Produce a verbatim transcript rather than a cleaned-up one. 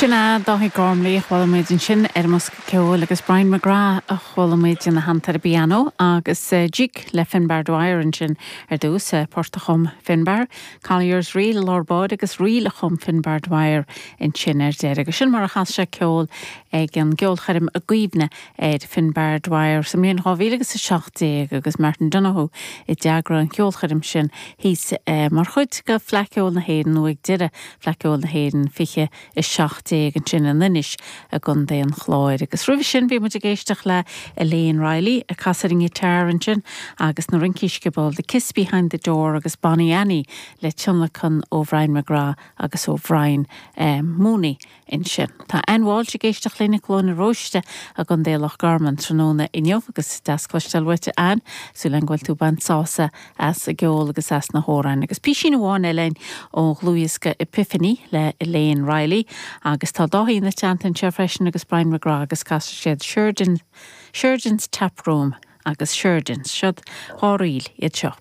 Sin é Dáithí Gormley a chuala muid ansin ar an mbosca ceoil agus Brian McGrath a chuala muid ina theannta ar an bpianó agus uh, Jig le Finbar Dwyer ansin ar dtús uh, port a chum Finbar, Collier's Reel lár bád agus ríl a chum Finbar Dwyer ansin ar deireadh. Agus sin mar a chas sé ceol ag an gceolchoirm i gcuimhne ar Finbar Dwyer sa mbliain dhá mhíle agus a seacht déag agus Martin Donoghue a d'eagraigh an cheolchoirm sin thíos uh, mar chuid de Fleadh Cheoil na hÉireann nó ag deireadh Fleadh Cheoil na hÉireann fiche a seacht déag ansin in Inis i gContae an Chláir. Agus roimhe sin bhí muid ag éisteacht le Elaine Riley ag casadh an ghiotár ansin agus na rincí sciobóil The Kiss Behind the Door agus Bonnie Annie le tionlacan ó Brian McGrath agus ó Brian um, Mooney ansin. Tá Ann Walsh ag éisteacht linn i gCluain na Róiste i gContae Loch Garman tráthnóna inniu agus deas cloisteáil uait Ann súil agam go bhfuil tú ag baint sásamh as an gceol agus as na hamhráin. Agus písín amháin eile ó dhlúthdhiosca Epiphany le Elaine Riley agus tá Dáithí ina teannta anseo freisin agus Brian McGrath agus casfaidh siad Sheridan Sheridan's Tap Room agus Sheridan's siod dá ríl iad seo.